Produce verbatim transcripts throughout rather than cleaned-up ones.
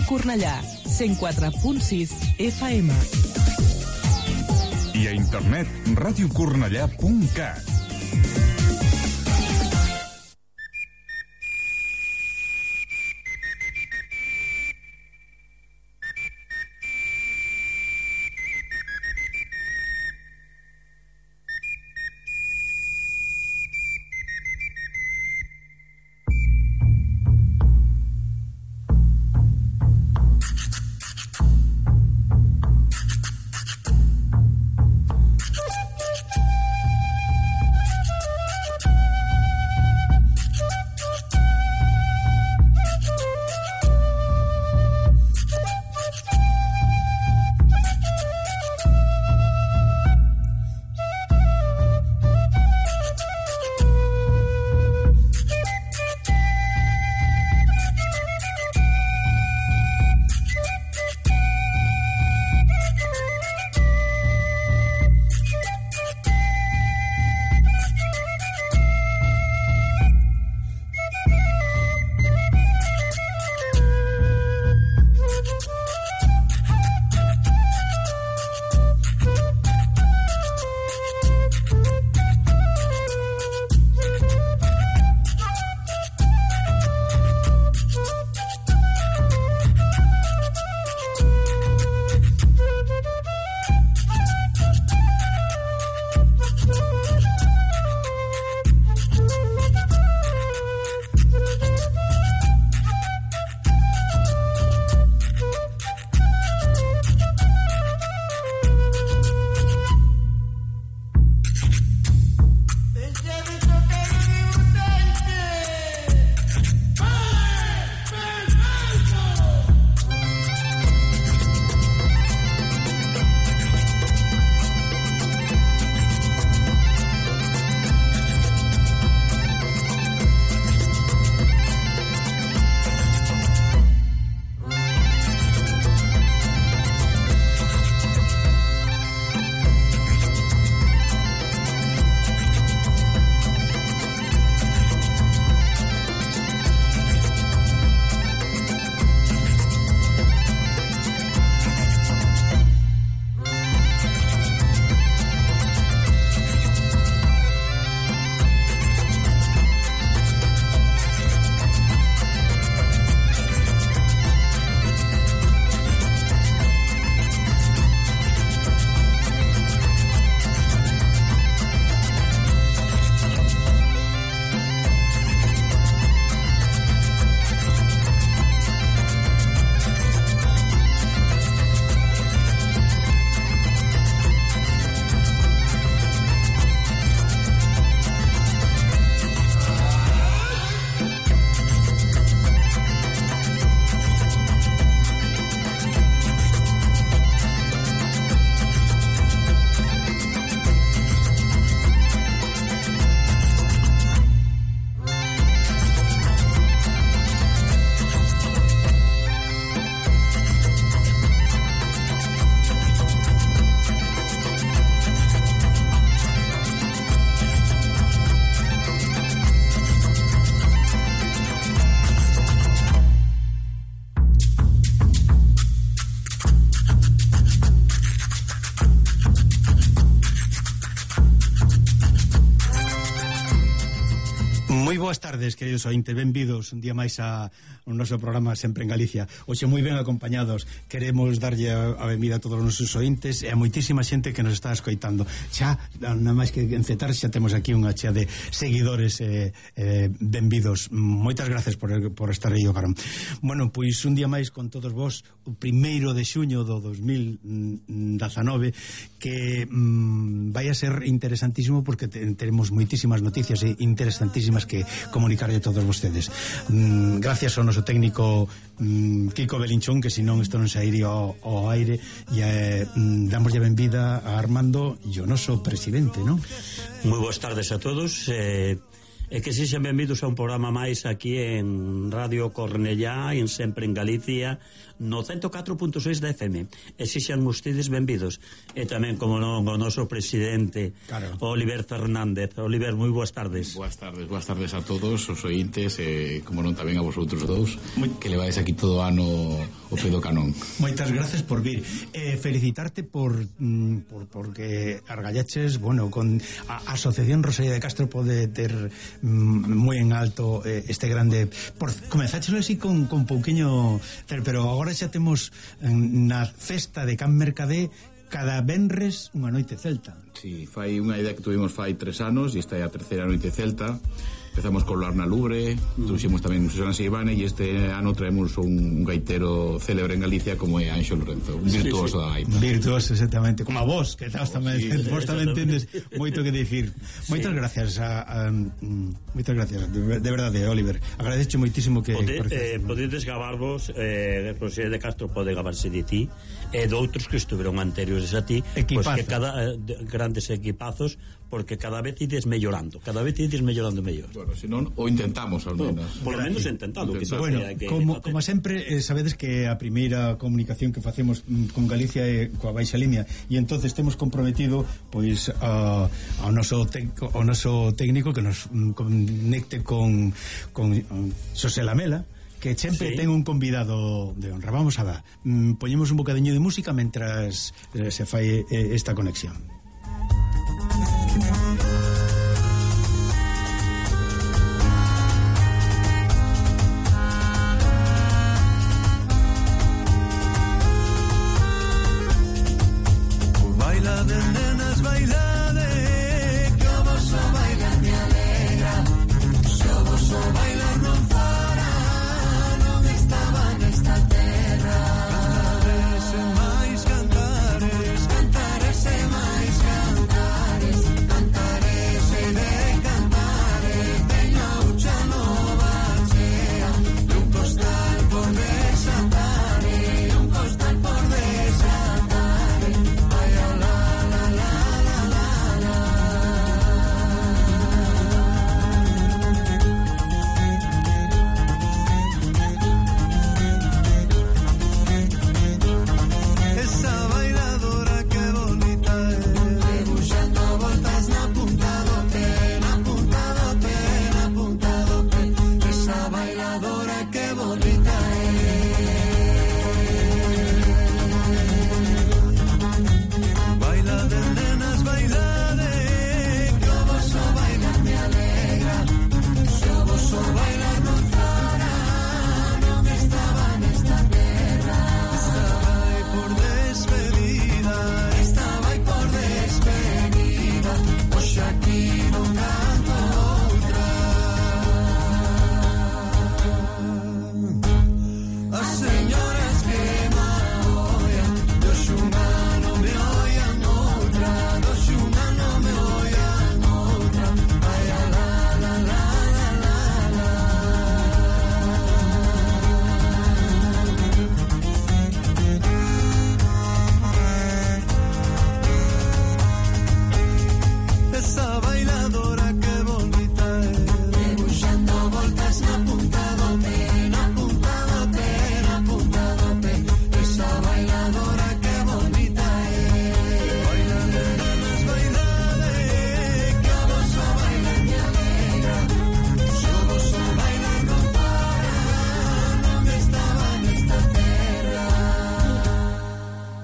Ràdio Cornellà, cent quatre punt sis F M. I a internet, ràdio cornellà punt cat. Moi boas tardes, queridos ointes, benvidos un día máis a un noso programa Sempre en Galicia. Hoxe moi ben acompañados. Queremos darlle a, a benvida a todos os nosos ointes e a moitísima xente que nos está escoitando. Xa, nada máis que encetar, xa temos aquí unha chea de seguidores eh, eh, benvidos. Moitas gracias por, por estar aí o carón. Bueno, pois un día máis con todos vos, o primeiro de xuño do dos mil dezanove, que mm, vai a ser interesantísimo porque te, teremos moitísimas noticias e interesantísimas que comunicarlle a todos vostedes. Mm, gracias ao noso técnico mm, Kiko Belinchón, que senón isto non sairía ao, ao aire, e eh, mm, damoslle benvida a Armando e o noso presidente, non? Moi boas tardes a todos. eh, E que sexan benvidos a un programa máis aquí en Radio Cornellá, en Sempre en Galicia, no ciento catro punto seis da F M. E sexan ustedes benvidos. E tamén, como non, o noso presidente, claro, Oliver Fernández. Oliver, moi boas tardes. Boas tardes, boas tardes a todos os ointes, e como non tamén a vosotros dous, moi... que levades aquí todo ano o pedo canón. Moitas gracias por vir. Eh, felicitarte por, mm, por porque argallaches, bueno, con a Asociación Rosalía de Castro pode ter moi en alto eh, este grande por, comenzáchelo así con, con pouquiño, pero agora xa temos na festa de Can Mercadé cada venres unha noite celta. Si, sí, fai unha idea que tuvimos fai tres anos e esta é a terceira noite celta. Empezamos con Loarna Lubre, mm. trouxemos tamén Susana Seivane, e este ano traemos un, un gaitero célebre en Galicia como é Anxo Lorenzo, un virtuoso sí, sí. da gaita. Virtuoso, exactamente, como a vos, que estás tamén, sí, vos tamén tendes moito que dicir. Sí. Moitas gracias a, a mm, moitas gracias, de, de verdade, Oliver. Agradecho moitísimo que Pode, eh, podedes gabarvos, eh, Rosalía de Castro pode gabarse de ti e de outros que estuveron anteriores a ti, pois que cada eh, de, grandes equipazos, porque cada vez ides mellorando, cada vez ides mellorando mellor. Bueno, se non, o intentamos ao menos. No, por lo menos intentado. Que bueno, que como, como sempre, eh, sabedes que a primeira comunicación que facemos mm, con Galicia é coa Baixa Limia, e entonces temos comprometido pois a, ao noso tec, ao noso técnico que nos mm, conecte con, con um, Xosé Lamela, que sempre sí. ten un convidado de honra. Vamos a ver, mm, poñemos un bocadiño de música mentras eh, se fai eh, esta conexión.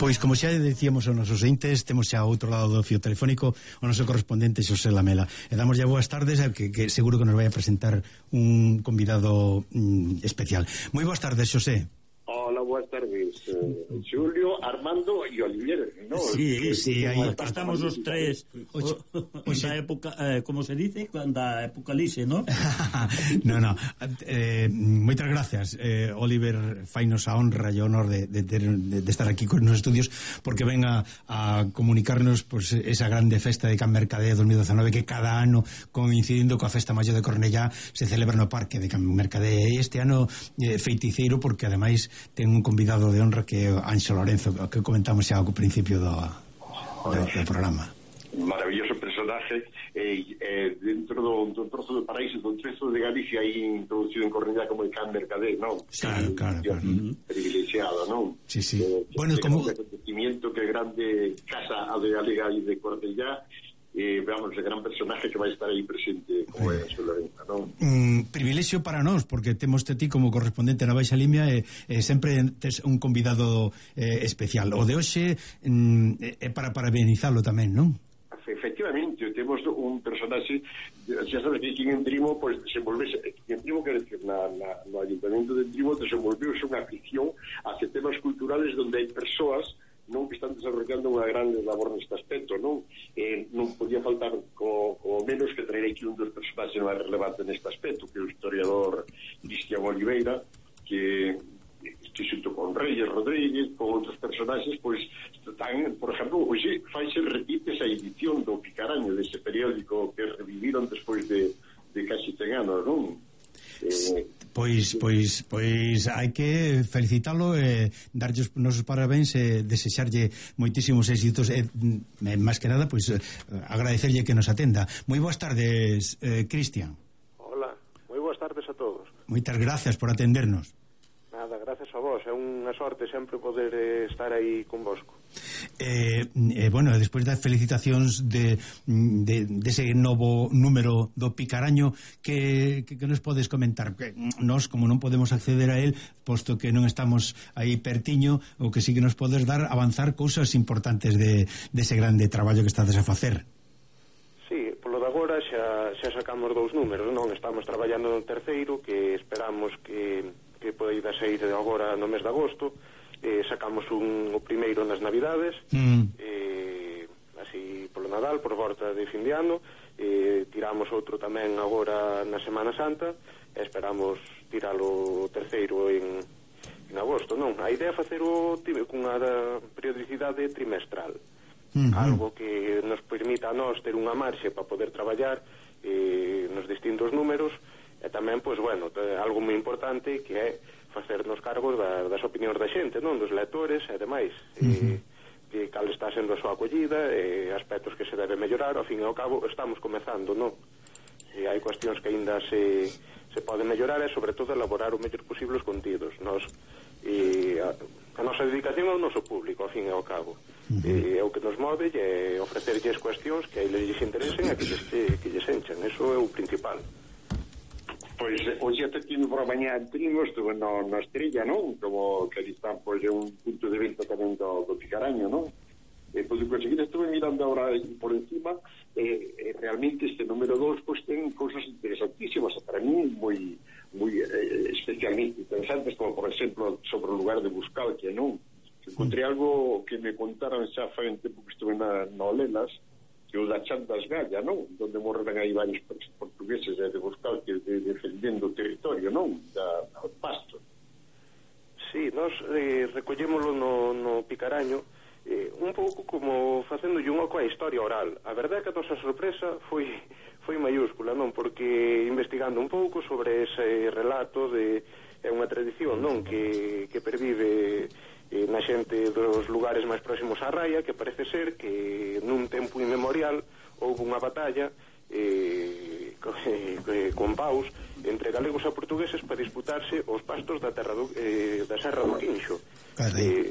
Pois como xa dicíamos aos nosos entes, temos xa ao outro lado do fío telefónico o noso correspondente Xosé Lamela. E damos ya boas tardes, que, que seguro que nos vai a presentar un convidado mm, especial. Moi boas tardes, Xosé. Hola, boas tardes, uh, Julio, Armando e Olivier, ¿no? Sí, sí, aí estamos os tres. O, o xa época, eh, como se dice, da apocalipse, ¿no? no, no. Eh, moitas gracias, eh, Oliver, fainos a honra e honor de, de, de, de estar aquí con nos estudios, porque ven a, a comunicarnos pues, esa grande festa de Can Mercadé dos mil dezanove que cada ano, coincidindo coa festa maior de Cornellá, se celebra no parque de Can Mercadé. E este ano eh, feiticeiro, porque ademais ten un convidado de honra que é Anxo Lorenzo, que comentamos xa ao principio do, do, do programa. Maravilloso persona personaje eh, eh, dentro do, do trozo do paraíso, do trezo de Galicia aí introducido en Cornellá como el Can Mercader, non? Claro, claro, claro. Privilegiado, non? Sí, sí. Eh, Bueno, como... Un acontecimiento que grande casa a de Galega aí de Cornellá, eh, veamos, el gran personaje que vai estar aí presente como é a Lorenza, non? Mm, privilexio para nós, porque temos te ti como correspondente na Baixa Limia e, e sempre tes un convidado eh, especial. O de hoxe mm, é para parabenizalo tamén, non? Efectivamente, temos un personaxe, xa sabes que aquí en Trimo pues, desenvolvese, en Trimo quer decir na, na, no Ayuntamiento de Trimo desenvolveuse unha afición hacia temas culturales donde hai persoas non que están desarrollando unha grande labor neste aspecto, non? Eh, non podía faltar co, co menos que traer aquí un dos personaxes máis relevantes neste aspecto, que é o historiador Cristian Oliveira, que que xunto con Reyes Rodríguez, con outros personaxes, pois están, por exemplo, hoxe faise repite esa edición do Picaraño, dese periódico que reviviron despois de, de casi cen anos, non? Eh, Pois, pois, pois hai que felicitalo e darlle os nosos parabéns e desexarlle moitísimos éxitos e, e máis que nada, pois agradecerlle que nos atenda. Moi boas tardes, eh, Cristian. Hola, moi boas tardes a todos. Moitas gracias por atendernos. Nada, gracias a vos, é unha sorte sempre poder eh, estar aí convosco. Eh, eh, bueno, despois das felicitacións de, de, de ese novo número do Picaraño, que, que, que nos podes comentar? Que nós, como non podemos acceder a él, posto que non estamos aí pertiño, o que sí que nos podes dar avanzar cousas importantes de, de ese grande traballo que estades a facer. Sí, polo de agora xa, xa sacamos dous números, non? Estamos traballando no terceiro, que esperamos que, que poida sair agora no mes de agosto. Eh, sacamos un, o primeiro nas Navidades, mm. eh, así polo Nadal, por volta de fin de ano, eh, tiramos outro tamén agora na Semana Santa e esperamos tiralo o terceiro en, en agosto, non? A idea é facer o cunha periodicidade trimestral, mm-hmm. algo que nos permita a nós ter unha marxe para poder traballar eh, nos distintos números e tamén, pois, bueno, algo moi importante que é facernos cargos da, das opinións da xente, non? Dos lectores e demais. Uh-huh. E, que cal está sendo a súa acollida, e aspectos que se debe mellorar, ao fin e ao cabo estamos comezando, non? E hai cuestións que aínda se, se poden mellorar e, sobre todo, elaborar o mellor posible os contidos. Nos, e a, a nosa dedicación ao noso público, ao fin e ao cabo. Uh-huh. E é o que nos move e ofrecerlles cuestións que a eles lles interesen e que lles, que lles enchan. Eso é o principal. Pois, hoxe até tive por a mañá en Trimo, estuve no, no Estrella, non? Como que ali está, pois, é un punto de venta tamén do, do Picaraño, non? E, pois, conseguir, estuve mirando ahora por encima, e, e realmente este número dos, pois, ten cousas interesantísimas, para mí, moi, moi eh, especialmente interesantes, como, por exemplo, sobre o lugar de Buscalquia, non? Encontrei algo que me contaron xa fai un tempo que estuve na, na Olelas, que o da Chandas Galla, non? Donde morreran aí varios portugueses de Buscalquia de, defendendo o territorio, non? Da, da Pasto. Sí, nós eh, recollémolo no, no Picaraño eh, un pouco como facendo un oco a historia oral. A verdade é que a nosa sorpresa foi, foi maiúscula, non? Porque investigando un pouco sobre ese relato de é unha tradición, non? Que, que pervive eh, na xente dos lugares máis próximos á raia, que parece ser que nun tempo inmemorial houve unha batalla eh, eh, con paus entre galegos e portugueses para disputarse os pastos da terra do, eh, da Serra do Quinxo. Eh,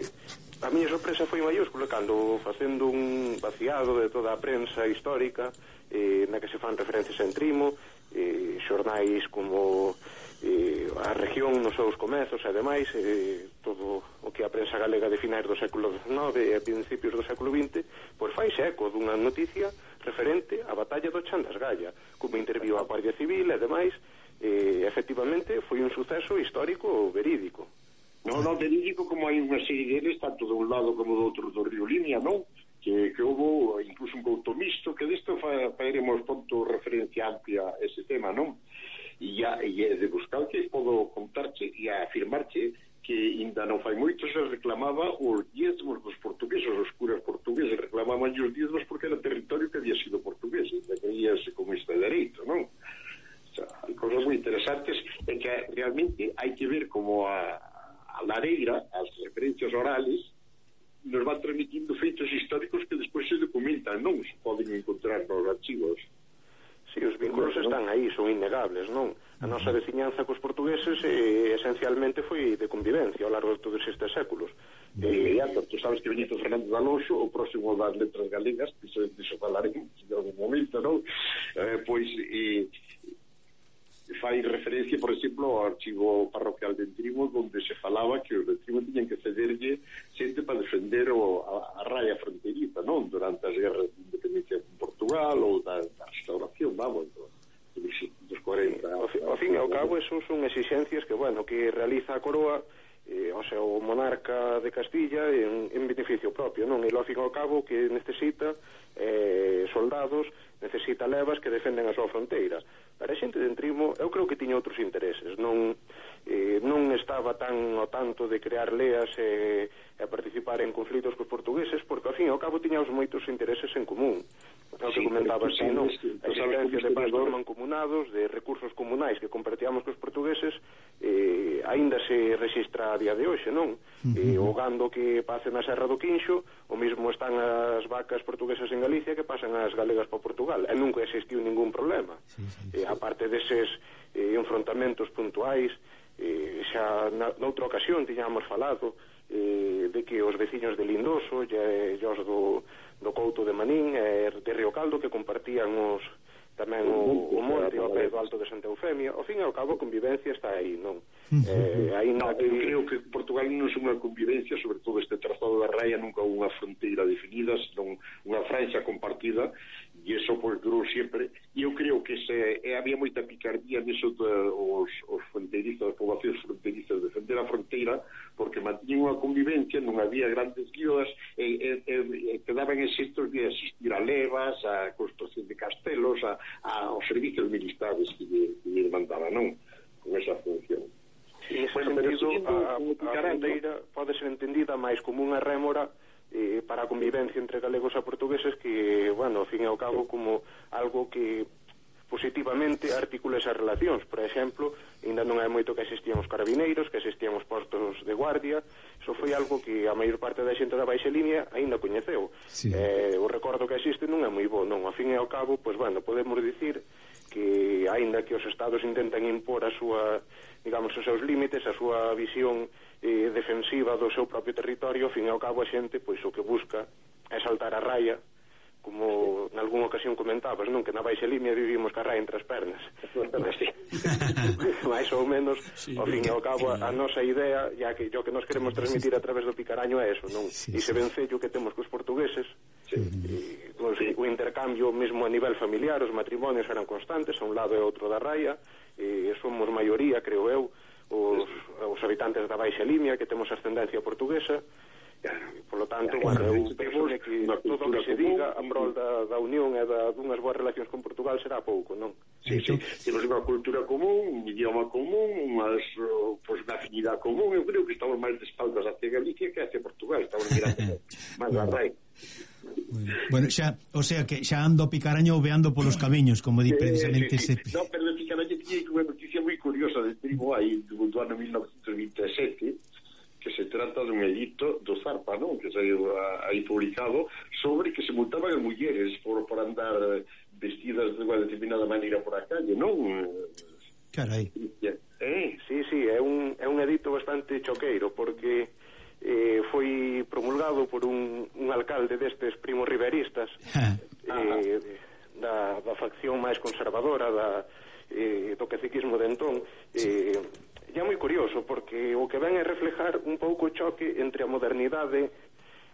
a miña sorpresa foi maiúscula cando, facendo un vaciado de toda a prensa histórica eh, na que se fan referencias en Trimo, eh, xornais como eh, a región nos seus comezos e demais, eh, todo o que a prensa galega de finais do século dezenove e a principios do século vinte, pois faise eco dunha noticia referente á batalla do Chandas Galla, como interviu a Guardia Civil e demais. Eh, efectivamente foi un suceso histórico verídico. Non, non, verídico, como hai unha serie deles tanto de un lado como do outro do río Limia, non? Que, que houve incluso un couto mixto, que disto fa, faeremos ponto referencia amplia a ese tema, non? E, ya, e de buscar que podo contarche e afirmarche que ainda non fai moito se reclamaba os diezmos dos portugueses, os curas portugueses reclamaban os diezmos porque era territorio que había sido portugués e creíase como este dereito, non? O sea, hai cosas moi interesantes e que realmente hai que ver como a, a lareira, as referencias orales nos van transmitindo feitos históricos que despois se documentan, non se poden encontrar nos archivos. Sí, os vínculos están aí, son innegables, non? A nosa veciñanza cos portugueses eh, esencialmente foi de convivencia ao largo de todos estes séculos. De inmediato, tú sabes que Benito Fernández de Alonso, o próximo das letras galegas, que se deixo falaremos en algún momento, non? Eh, pois eh, fai referencia, por exemplo, ao archivo parroquial de Entrimo, onde se falaba que os de Entrimo tiñan que cederlle xente para defender o, a, a raya fronteriza, non? Durante as guerras de independencia con Portugal ou da, da restauración, vamos, do, dos cuarenta. Ao, fi, ao fin e ao cabo, esos son exigencias que, bueno, que realiza a coroa, eh, o sea, o monarca de Castilla en, en beneficio propio, non? E ao fin e ao cabo que necesita eh, soldados, necesita levas que defenden a súa fronteira. Para a xente de Entrimo, eu creo que tiña outros intereses, non eh, non estaba tan ao tanto de crear leas e, e participar en conflitos cos portugueses, porque ao fin e ao cabo tiñamos moitos intereses en común. O que comentabas, sí, non? A existencia de pastos mancomunados, de recursos comunais que compartíamos cos portugueses, eh, aínda se registra a día de hoxe, non? Uh-huh. Eh, o gando que pase na Serra do Quinxo, o mismo están as vacas portuguesas en Galicia que pasan as galegas para Portugal, e nunca existiu ningún problema. Sí, sí, sí. Eh, aparte deses eh, enfrontamentos puntuais, eh, xa na, noutra ocasión tiñamos falado eh, de que os veciños de Lindoso e os do, do Couto de Manín e de Río Caldo, que compartían os tamén o, o monte ao pé do Alto de Santa Eufemia, ao fin e ao cabo a convivencia está aí, non? Eh, aí no, que... eu creo que Portugal non é unha convivencia, sobre todo este trazado da raia nunca unha fronteira definida, senón unha franxa compartida, e iso pues durou sempre, e eu creo que se, e había moita picardía neso de os, os fronteirizos, as poblacións fronteirizas, defender a fronteira, porque mantiñen unha convivencia, non había grandes guías, e, e, e, e quedaban exentos de asistir a levas, a construcción de castelos, a, a, aos servicios militares que lle, que lle mandaban, non? Con esa función. En ese bueno, sentido, a, a fronteira pode ser entendida máis como unha rémora eh, para a convivencia entre galegos e portugueses que, bueno, ao fin e ao cabo, como algo que positivamente articula esas relacións. Por exemplo, ainda non hai moito que existían os carabineiros, que existían os postos de guardia. Iso foi algo que a maior parte da xente da baixa línea aínda coñeceu. Sí. Eh, o recordo que existe non é moi bo, non? Ao fin e ao cabo, pois, bueno, podemos dicir que aínda que os estados intentan impor a súa, digamos, os seus límites, a súa visión eh, defensiva do seu propio territorio, ao fin e ao cabo a xente, pois, o que busca é saltar a raya, como en algunha ocasión comentabas, non? Que na baixa línea vivimos ca raya entre as pernas. Mais ou menos, sí, ao fin e ao cabo, a, a nosa idea, ya que o que nos queremos transmitir a través do Picaraño é eso, non? Sí, ese vencello que temos cos portugueses, sí. E, pues, sí. O intercambio mesmo a nivel familiar, os matrimonios eran constantes a un lado e outro da raya, e somos maioría, creo eu, os, os habitantes da baixa línea que temos ascendencia portuguesa. Por lo tanto, bueno, eu penso que todo o que se diga a prol da, da unión e da, dunhas boas relacións con Portugal será pouco, non? Sí, sí, temos unha cultura común, un idioma común, unhas, pues, unha afinidade común. Eu creo que estamos máis de espaldas hacia Galicia que hacia Portugal, estamos mirando máis a raíz. Bueno, xa, o sea que xa ando Picaraño veando polos camiños, como di precisamente eh, sí, ese... No, pero de Picaraño tiña unha noticia moi curiosa del primo aí do, do ano mil novecentos vinte e sete, que se trata dun edicto do Zarpa, non? Que saiu aí publicado sobre que se multaban as mulleres por, por andar vestidas de unha determinada maneira por a calle, non? Carai. Eh? Sí, sí, é un, é un edicto bastante choqueiro, porque eh, foi promulgado por un, un alcalde destes primos riveristas eh, da, da facción máis conservadora da, eh, do caciquismo de entón. eh, E é moi curioso, porque o que ven é reflejar un pouco o choque entre a modernidade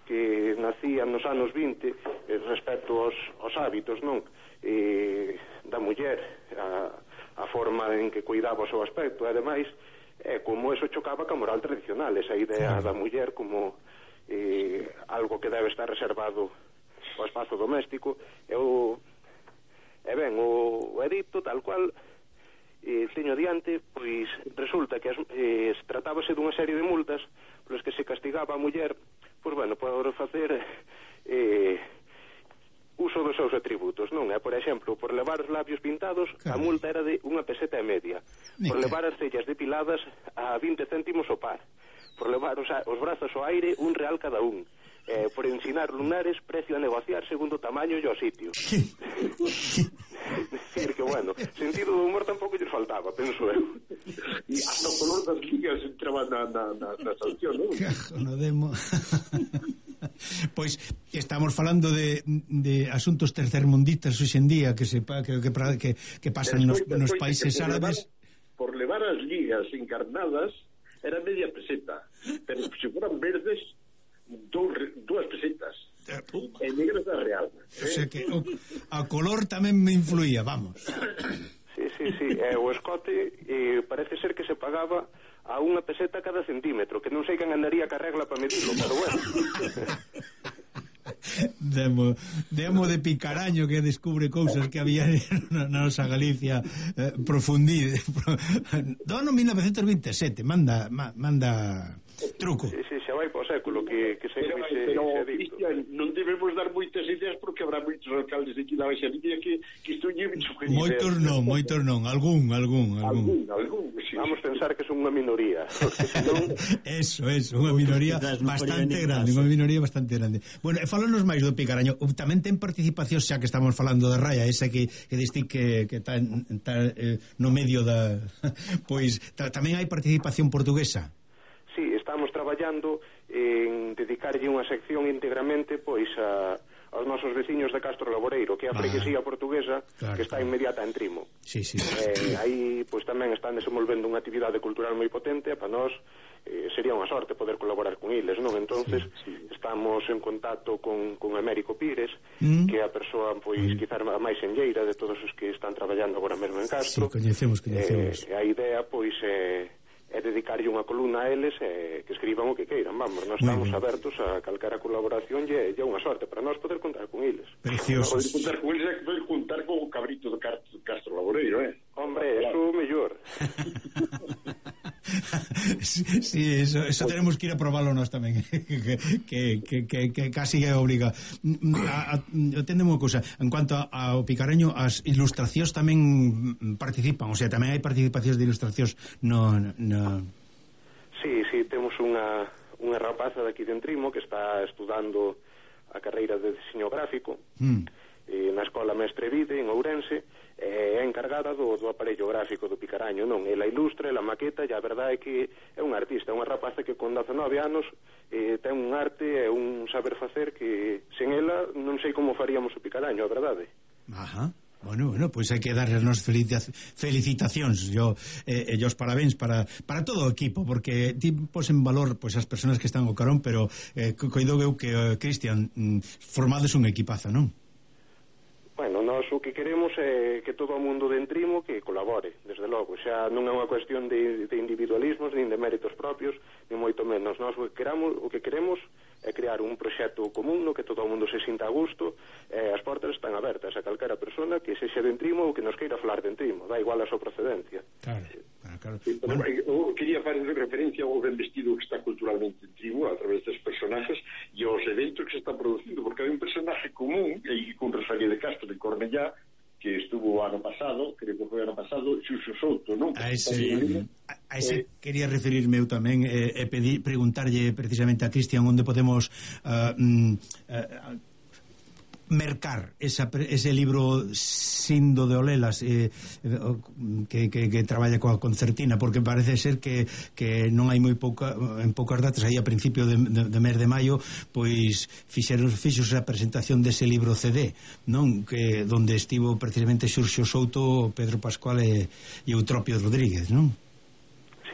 que nacía nos anos vinte eh, respecto aos, aos hábitos, non? Eh, da muller, a, a forma en que cuidaba o seu aspecto, e ademais, é como eso chocaba ca moral tradicional, esa idea da muller como eh, algo que debe estar reservado ao espazo doméstico. E, o, e ben, o, o edicto tal cual eh, teño diante, pois resulta que as, eh, tratábase dunha serie de multas polas que se castigaba a muller, pois bueno, por facer eh, uso dos seus atributos, non é? Por exemplo, por levar os labios pintados, a multa era de unha peseta e media. Por levar as cellas depiladas, a vinte céntimos o par. Por levar os, os brazos ao aire, un real cada un. eh, por ensinar lunares, precio a negociar segundo tamaño e o sitio. Decir que, bueno, sentido do humor tampouco lles faltaba, penso eu. E hasta o color das ligas entraba na, na, na, na sanción, non? Cajo, no demo. Pois estamos falando de, de asuntos tercermundistas hoxe en día que se que, que, que, que pasan nos, nos países árabes. Por levar as ligas encarnadas era media peseta, pero se fueran verdes dos, dúas pesetas e negras da real, eh? O sea que o, a color tamén me influía, vamos. Sí, sí, sí, e o escote eh, parece ser que se pagaba a unha peseta cada centímetro, que non sei quen andaría ca regla para medirlo, pero bueno. Demo, demo de Picaraño que descubre cousas que había na nosa Galicia eh, profundide. Dono mil novecentos veintesete, manda ma, manda truco. Sí, sí, xa vai po século que, que se, pero, se, pero se Cristian, non debemos dar moitas ideas porque habrá moitos alcaldes aquí da Baixa Línea que, que isto lle sugerir. Moitos non, moitos non, algún, algún, algún. Algún, algún, sí. Vamos pensar que son unha minoría, porque senón... Eso, eso, unha minoría bastante grande, unha minoría bastante grande. Bueno, e fálanos máis do Picaraño. Tamén ten participación, xa que estamos falando de Raya, esa que, que diste que, que está, está eh, no medio da... Pois ta, tamén hai participación portuguesa. Sí, estamos traballando en dedicarlle unha sección íntegramente pois a, aos nosos veciños de Castro Laboreiro, que é a freguesía portuguesa, claro, que está claro. Inmediata en Trimo. Sí, sí. Eh, aí pois tamén están desenvolvendo unha actividade cultural moi potente, e para nós eh, sería unha sorte poder colaborar con eles, non? Entonces sí, sí. Estamos en contacto con, con Américo Pires, mm. que é a persoa pois mm. quizás a máis enlleira de todos os que están traballando agora mesmo en Castro. Sí, coñecemos, coñecemos. Eh, a idea pois é eh, é dedicarlle unha columna a eles e que escriban o que queiran, vamos, nós estamos abertos a calquera colaboración e é unha sorte para nós poder contar con eles. Precioso. Poder contar con eles é que poder contar con o cabrito do Castro Laboreiro, eh? Hombre, eso é mellor. Sí, eso, eso tenemos que ir a probarlo nós tamén que, que, que, que, que casi é obriga. A, a, Atendemos unha cousa, en cuanto ao Picareño, as ilustracións tamén participan, o sea, tamén hai participacións de ilustracións no, no... Sí, sí, temos unha, unha rapaza daqui de Entrimo que está estudando a carreira de diseño gráfico mm. eh, na Escola Mestre Vide en Ourense, é encargada do, do aparello gráfico do Picaraño, non? Ela ilustra, ela maqueta, e a verdade é que é un artista, é unha rapaza que con dezanove anos eh, ten un arte e un saber facer que sen ela non sei como faríamos o Picaraño, a verdade. Ajá. Bueno, bueno, pois pues hai que darles nos felicitacións yo, eh, e os parabéns para, para todo o equipo, porque ti pos en valor pois, as persoas que están ao carón, pero eh, coido eu que, uh, Cristian, mm, formades un equipazo, non? Bueno, nós o que queremos é que todo o mundo de Entrimo que colabore, desde logo, xa non é unha cuestión de, de individualismos nin de méritos propios, nin moito menos. Nós o que queramos, o que queremos é crear un proxecto común no que todo o mundo se sinta a gusto, e as portas están abertas a calquera persona que sexa de Entrimo ou que nos queira falar de Entrimo, da igual a súa procedencia. Claro, claro. Sí, pero, bueno. Eu quería fazer referencia ao ben vestido que está culturalmente en Entrimo a través dos personajes e aos eventos que se están producindo, porque hai un personaje común e con Rosalía de Castro de Cornellá que estuvo ano pasado, creo que foi ano pasado, Xuxo Souto, non? A ese, a, a ese eh, quería referirme eu tamén e eh, pedir, preguntarlle precisamente a Cristian onde podemos uh, uh, mercar esa, ese libro Sindo de Olelas eh, que, que, que traballa coa concertina, porque parece ser que, que non hai moi pouca, en poucas datas, aí a principio de, de, de mes de maio pois fixeron fixos a presentación dese libro C D, non? Que donde estivo precisamente Xurxo Souto, Pedro Pascual e, e Eutropio Rodríguez, non?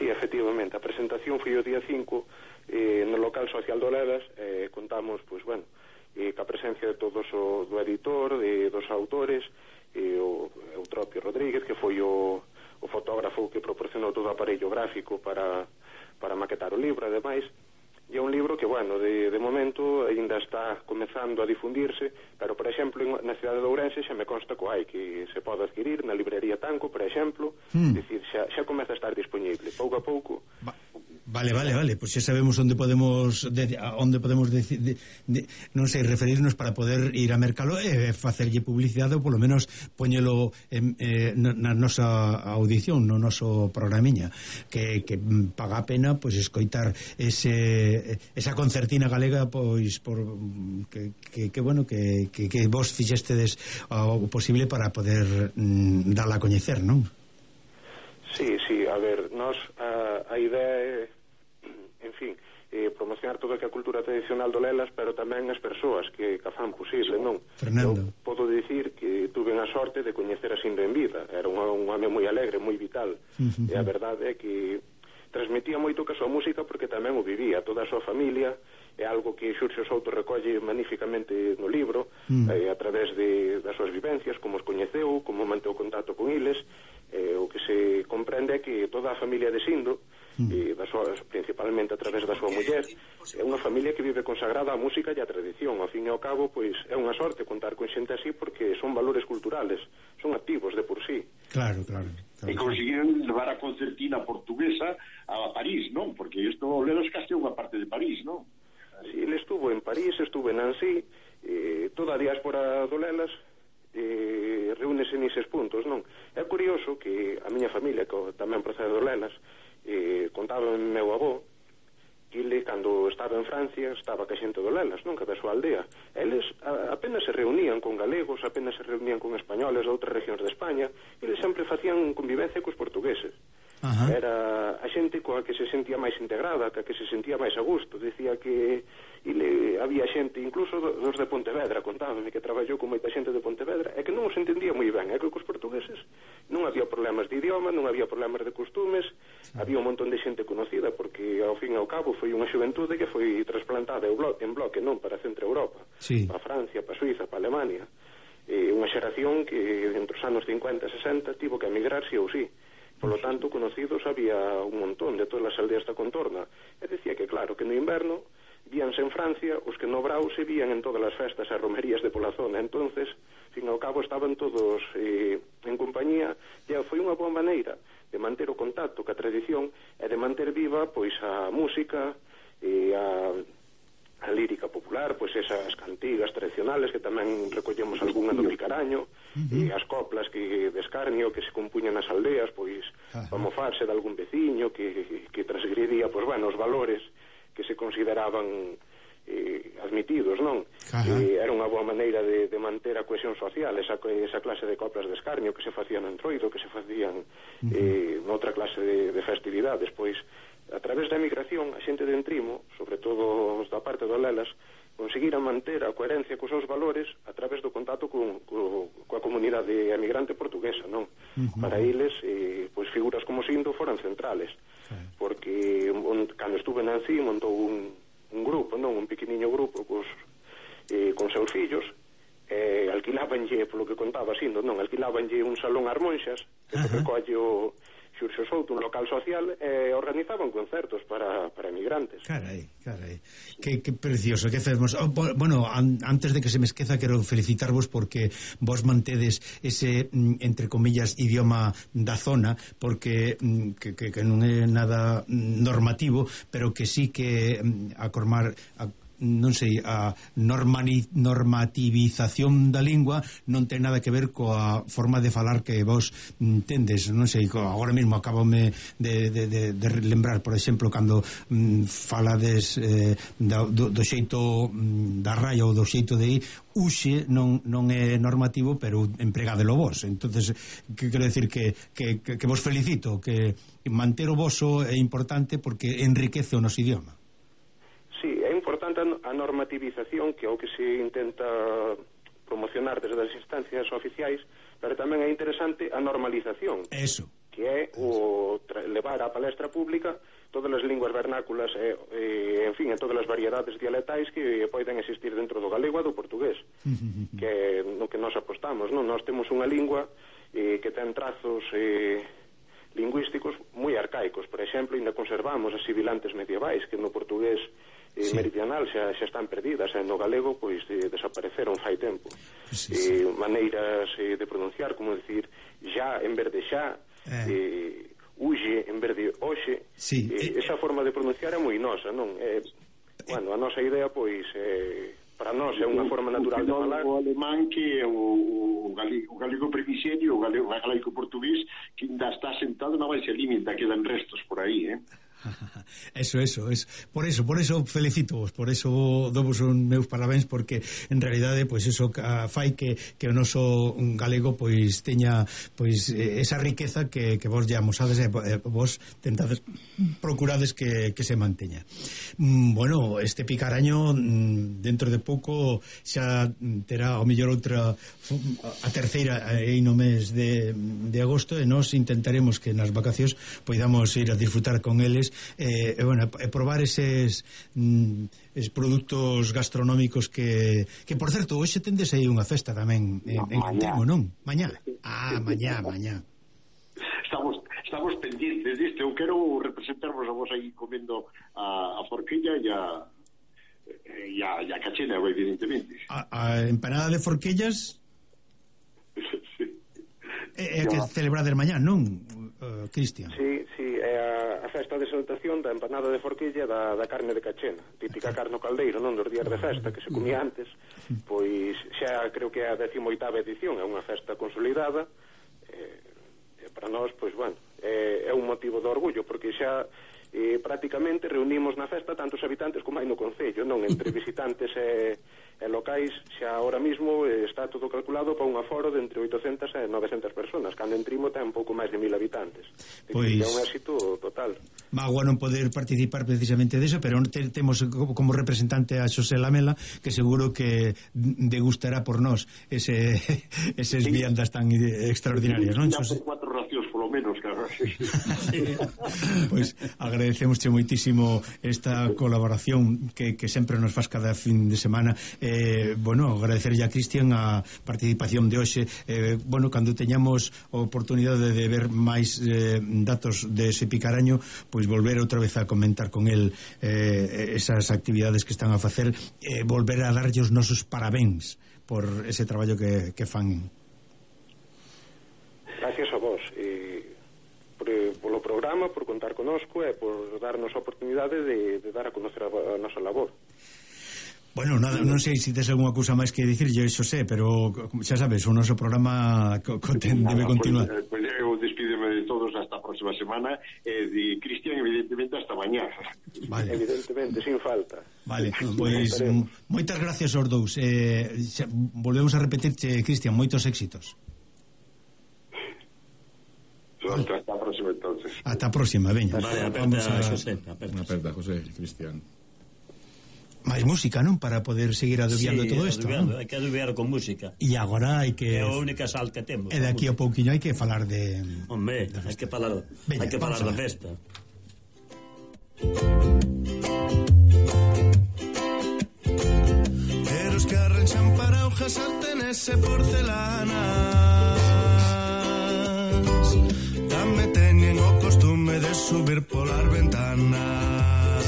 Sí, efectivamente, a presentación foi o día cinco eh, no local social de Olelas, eh, contamos, pois, bueno, e ca presencia de todos o do editor, de, dos autores, e o Eutropio Rodríguez, que foi o, o fotógrafo que proporcionou todo o aparello gráfico para, para maquetar o libro, ademais. E é un libro que, bueno, de, de momento ainda está comezando a difundirse, pero, por exemplo, na cidade de Ourense xa me consta que hai, que se pode adquirir na librería Tanco, por exemplo, mm. decir, xa, xa comeza a estar disponible, pouco a pouco. Va, Vale, vale, vale, pois pues xa sabemos onde podemos de, onde podemos de, de, de, non sei, referirnos para poder ir a mercalo e facerlle publicidade ou polo menos poñelo en, eh, na nosa audición, no noso programiña, que, que paga a pena pois pues, escoitar ese, esa concertina galega pois por que, que, que bueno, que, que, que vos fixestedes o posible para poder mm, darla a coñecer, non? Sí, sí, a ver, nos a, a idea é, en fin, eh, promocionar todo o que a cultura tradicional do Lelas, pero tamén as persoas que, que a fan posible, non? Fernando. Eu podo dicir que tuve a sorte de coñecer a Sindo en vida. Era un, un home moi alegre, moi vital. Uh-huh. E a verdade é que transmitía moito que a súa música porque tamén o vivía, toda a súa familia. É algo que Xurxo Souto recolle magníficamente no libro, uh-huh. eh, a través de, das súas vivencias, como os coñeceu, como manteu contacto con eles. Eh, o que se comprende é que toda a familia de Sindo, e das súas, principalmente a través da súa muller, é unha familia que vive consagrada á música e á tradición. Ao fin e ao cabo, pois é unha sorte contar con xente así porque son valores culturales, son activos de por sí. Claro, claro, claro. E conseguiron levar a concertina portuguesa a París, non? Porque isto o Lelas casi é unha parte de París, non? Sí, ele estuvo en París, estuvo en Nancy, eh, toda a diáspora do Lelas eh, reúnese neses puntos, non? É curioso que a miña familia, que tamén procede do Lelas, eh, contaba en meu avó que ele, cando estaba en Francia, estaba ca xente do Lelas, non? Cada súa aldea. Eles a, apenas se reunían con galegos, apenas se reunían con españoles de outras regións de España, e eles sempre facían convivencia cos portugueses. Ajá. Era a xente coa que se sentía máis integrada, coa que se sentía máis a gusto. Dicía que ele, había xente, incluso dos de Pontevedra, contábame que traballou con moita xente de Pontevedra, e que non os entendía moi ben, é que cos portugueses non había problemas de idioma, non había problemas de costumes, sí. Había un montón de xente conocida, porque ao fin e ao cabo foi unha xuventude que foi trasplantada en bloque, non, para Centro Europa, sí. Para Francia, para Suiza, para Alemania, e unha xeración que entre os anos cincuenta e sesenta tivo que emigrar sí ou sí. Por lo tanto, conocidos había un montón de todas as aldeas da contorna. E decía que, claro, que no inverno víanse en Francia os que no Brau se vían en todas as festas e romerías de pola zona. Entonces, fin ao cabo, estaban todos eh, en compañía, e foi unha boa maneira de manter o contacto ca tradición e de manter viva pois a música e a... a lírica popular, pois esas cantigas tradicionales que tamén recollemos algunha do Vilcaraño, uh-huh. E as coplas que de escarnio que se compuñan nas aldeas, pois uh-huh. Para mofarse de algún veciño que, que transgredía, pois bueno, os valores que se consideraban eh, admitidos, non? Uh-huh. Eh, era unha boa maneira de, de manter a cohesión social, esa, esa clase de coplas de escarnio que se facían en Entroido, que se facían uh-huh. eh, noutra clase de, de festividades, pois a través da emigración, a xente de Entrimo, sobre todo os da parte do Lelas, conseguiran manter a coherencia cos seus valores a través do contacto con, co, coa comunidade emigrante portuguesa, non? Uh-huh. Para eles, eh, pois figuras como Sindo foran centrales, sí. Porque on, cando estuve en Nancy montou un, un grupo, non? Un pequeniño grupo cos, eh, con seus fillos, eh, alquilábanlle, polo que contaba Sindo, non? Alquilábanlle un salón ás monxas, que uh-huh. recolle o Xurxo Souto, un local social, e eh, organizaban concertos para, para emigrantes. Carai, carai. Que, que precioso, que fermos. Oh, bueno, an, antes de que se me esqueza, quero felicitarvos porque vos mantedes ese, entre comillas, idioma da zona, porque que, que, que non é nada normativo, pero que sí que a formar... A, non sei, a normani, normativización da lingua non ten nada que ver coa forma de falar que vos tendes, non sei, agora mesmo acabome de, de, de, de lembrar, por exemplo, cando mm, falades eh, do, do xeito mm, da raya ou do xeito de ir, uxe non, non é normativo, pero empregadelo vos. Entonces, que quero decir que, que, que, que vos felicito, que manter o voso é importante porque enriquece o noso idioma. Sí, é importante a normativización, que é o que se intenta promocionar desde as instancias oficiais, pero tamén é interesante a normalización. Eso. Que é o levar á palestra pública todas as linguas vernáculas e, e en fin, e todas as variedades dialectais que poden existir dentro do galego e do portugués, que é no que nós apostamos, non? Nós temos unha lingua eh, que ten trazos eh, lingüísticos moi arcaicos. Por exemplo, ainda conservamos as sibilantes medievais que no portugués eh, sí. meridional xa, xa están perdidas, e no galego pois eh, desapareceron fai tempo. Sí, sí. Eh, maneiras eh, de pronunciar, como decir ya en vez de xa, eh. Eh, uxe en vez de oxe, Sí. E, esa forma de pronunciar é moi nosa, non? É, bueno, a nosa idea, pois, é, para nós é unha forma natural de falar. O alemán que é o, o, galego, o galego primigenio, o galego, o galego portugués, que ainda está sentado na baixa límite, quedan restos por aí, eh? Eso, eso, es por eso, por eso felicito vos, por eso dovos un meus parabéns, porque en realidade pois eso fai que que o noso galego pois teña pois esa riqueza que que vos lle amosades e vos tentades procurades que que se manteña. Mm, bueno, este Picaraño dentro de pouco xa terá ao mellor outra a terceira aí no mes de de agosto, e nós intentaremos que nas vacacións poidamos ir a disfrutar con eles. Eh, e, bueno, e probar eses, mm, eses produtos gastronómicos que, que por certo, hoxe tendes aí unha festa tamén en, en Antrimo, non? Mañá? Ah, mañá, mañá. Estamos, estamos pendientes disto. Eu quero representarvos a vos aí comendo a, a forquilla e a, e a, e a cachena, evidentemente. A, a empanada de forquillas Sí. é, é que celebrades mañá, non, uh, Cristian? Sí, sí, é a, a festa de exaltación da empanada de forquilla da, da carne de cachena, típica carne ao caldeiro, non, dos días de festa que se comía antes. Pois xa creo que é a decimoitava edición, é unha festa consolidada, e, e para nós, pois, bueno, é, é un motivo de orgullo, porque xa eh, prácticamente reunimos na festa tantos habitantes como hai no concello, non, entre visitantes e, e locais. Xa ahora mismo eh, está todo calculado para un aforo de entre oitocentas e novecentas personas, cando en Trimo ten pouco máis de mil habitantes. Pois é un éxito total. Magua non poder participar precisamente deso, pero te, temos como representante a Xosé Lamela, que seguro que degustará por nós ese, eses sí. viandas tan extraordinarias, non, Xosé? Por cuatro racións, polo menos, claro. Sí. Pois agradecemosche moitísimo esta colaboración que, que sempre nos faz cada fin de semana. Eh, bueno, agradecerlle a Cristian a participación de hoxe. Eh, bueno, cando teñamos a oportunidade de ver máis eh, datos de ese Picaraño, pois volver outra vez a comentar con el eh, esas actividades que están a facer, eh, volver a darlle os nosos parabéns por ese traballo que, que fan. Gracias a vos e por, polo programa, por contar conosco e por darnos a oportunidade de, de dar a conocer a, a nosa labor. Bueno, nada, non sei se tes algunha cousa máis que dicir, yo iso sé, pero xa sabes, o noso programa co, co, ten, debe continuar. Pues, pues eu despídeme de todos hasta a próxima semana e de Cristian, evidentemente, hasta mañá. Vale. Evidentemente, sin falta. Vale, pois pues, moitas gracias aos dous. Eh, xa, volvemos a repetirche, Cristian, moitos éxitos. Hasta a próxima, entonces. Hasta a próxima, veña. Vale, aperta a José. Unha aperta, José, Cristian. máis música, non? Para poder seguir adubiando sí, todo isto, non? Hai que adubiar con música. E agora hai que... É a única sal que temos. E daqui a pouquiño hai que falar de... Hombre, hai que falar, hai que falar da festa. Pero os que arranchan para hojas sartenes e porcelanas tamén teñen o costume de subir polas ventanas.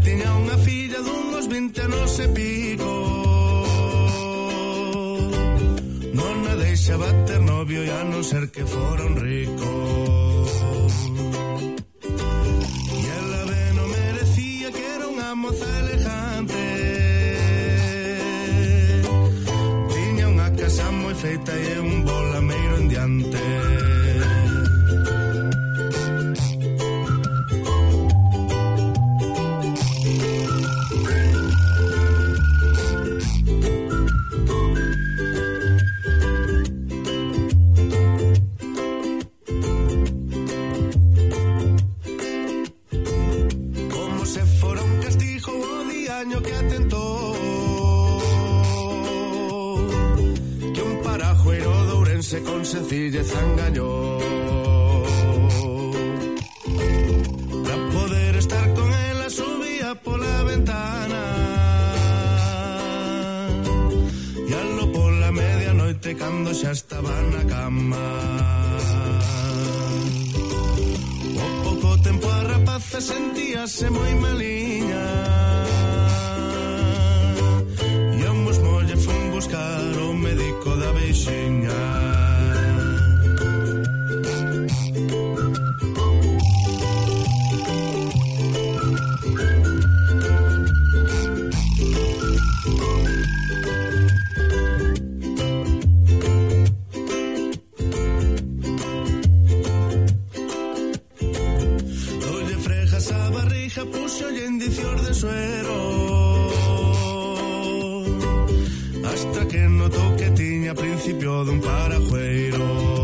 Tiña unha filla dunhos vinte anos e pico, non a deixaba ter novio e a non ser que fora un rico. E ela ben non merecía, que era unha moza elegante. Tiña unha casa moi feita e un bolameiro en diante. Que atentou que un parajueiro de Ourense con sencilleza engañou para poder estar con ela subía pola ventana e algo pola medianoite cando xa estaba na cama. O pouco tempo a rapaza sentíase moi maliña buscar o médico da veixiña. hija puxo indicios de suero, hasta que notou que tiña principio dun parajueiro.